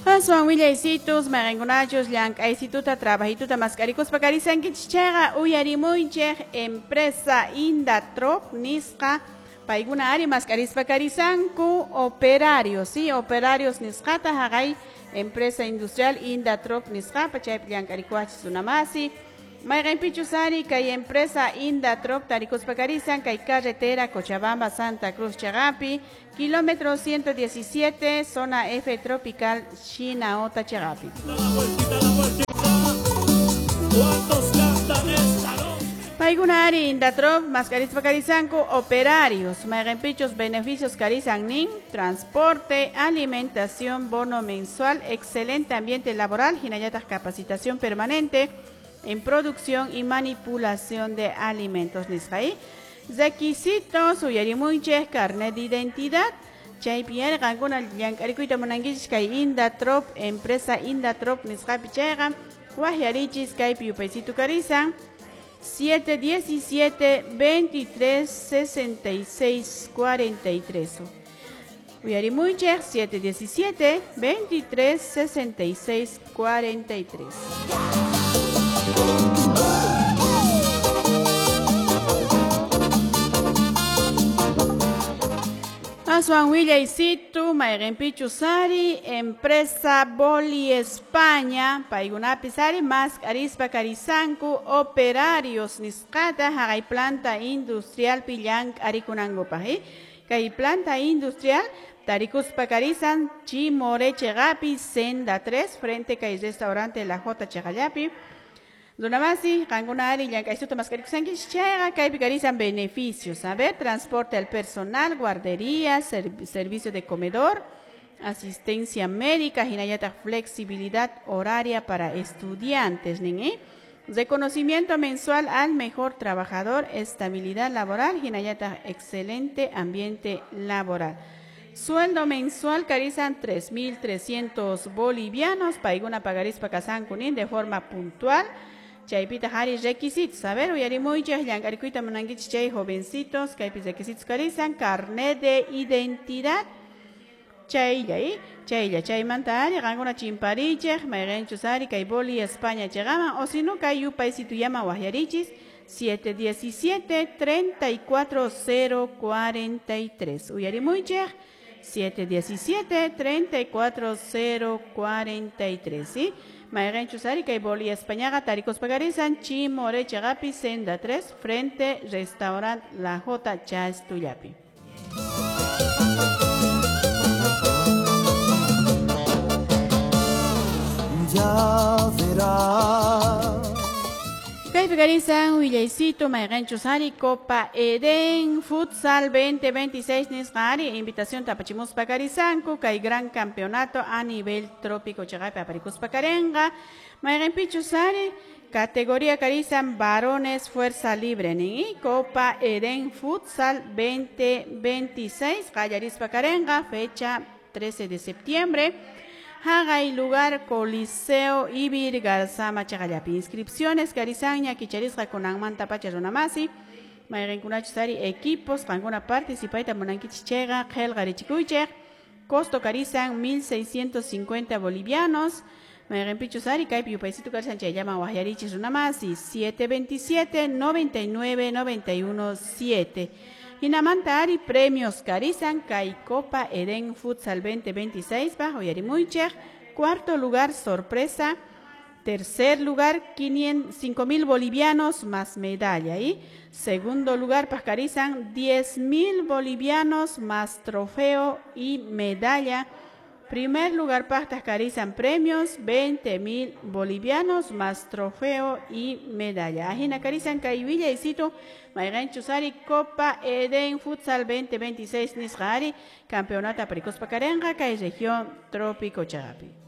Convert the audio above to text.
Aswan willaysitus, mayqinkunachus llank'aysituta trabajituta mask'arikuspa karisankichis chayqa uyarimuychik empresa Indatrop nisqa paykuna ari mask'arispa karisanku operarios, sí, operarios nisqata haqay empresa industrial Indatrop nisqapa chaypi llank'arikuwachis runamasi. Mayqinpichus ari kay empresa Indatrop tarikuspa karisan kay carretera Cochabamba Santa Cruz Chagapi, kilómetro 117, zona F tropical Shinaota Chagapi. Paykuna ari Indatrop mask'arispa karisanku operarios, mayqinpichus beneficios karisan nin, transporte, alimentación, bono mensual, excelente ambiente laboral, hinallataq capacitación permanente en producción y manipulación de alimentos nisqa. Requisitos uyarimuychik carnet de identidad chaypi ari qankuna llank'arikuyta munankichis kay Indatrop empresa Indatrop nisqapi chayqa waqyarichis kaypi yupaysitu karisan 717 23 66 43. Uyarimuychik 717 23 66 43. Aswan willaysitu mayqinpichus ari empresa Boli España paykunapis ari mask'arispa karisanku operarios nisqata haqay planta industrialpi llank'arikunankupaq. Kay planta industrial tarikuspa karisan Chimore cheqapi senda 3 frente kay restaurante La J cheqallapi. Runamasi, qankuna ari llank'aysuta mask'arikusankichis chayqa kaypi karisan beneficios. A ver, transporte al personal, guardería, servicio de comedor, asistencia médica, hinallataq flexibilidad horaria para estudiantes, nin, ¿eh? Reconocimiento mensual al mejor trabajador, estabilidad laboral, hinallataq excelente ambiente laboral. Sueldo mensual karisan 3.300 bolivianos, paykuna pagarispa kasanku nin de forma puntual. Chaypita hari requisitos. A ver, uyarimuychik llank'arikuyta munankichis chay jovencitos, kaypi requisitos karisan, carnet de identidad, chaylla, chaylla, chaymanta ari qankuna chimparichik, mayqinchus ari kay Boli España chayqaman, o si no kay yupaysitullaman waqyarichis 717 34 043. Uyarimuychik 717 34 043, ¿sí? Mayqinchus ari kay Boli Españaqa tarikuspa karisan Chimore cheqapi senda 3 frente restaurant La J Chastullapi. Ya verás. Kaypi karisan willaysitu mayqinchus ari Copa Edén Futsal 2026 nisqa ari invitación tapachimuspa karisanku kay gran campeonato a nivel trópico chaqapi aparikuspa karenqa mayqinpichus ari categoría karisan varones fuerza libre nin Copa Edén Futsal 2026 qallarispa karenqa fecha 13 de septiembre. Haqay lugar Coliseo Ibir Garzama chaqallapi. Inscripciones karisanña kicharisqa kunanmanta pacha runamasi. Mayqinkunachus ari equipos qankuna participayta munankichis chayqa qillqarichikuychik. Costo karisan 1.650 bolivianos. Mayqinpichus ari kaypi yupaysitu karisan chayllaman waqyarichis runamasi 727 99 91 7. Hinamanta ari premios karisan kay Copa Edén Futsal 2026 bajo uyarimuychik. Cuarto lugar sorpresa, tercer lugar 5.000 bolivianos más medalla y segundo lugar pascarizan 10.000 bolivianos más trofeo y medalla. Primer lugar pascarizan premios 20.000 bolivianos más trofeo y medalla. Ajina karizan kay willaysitu mayqinchus ari Copa Edén Futsal 2026 nisqa ari campeonato aparikuspa karenqa kay región trópico chaqapi.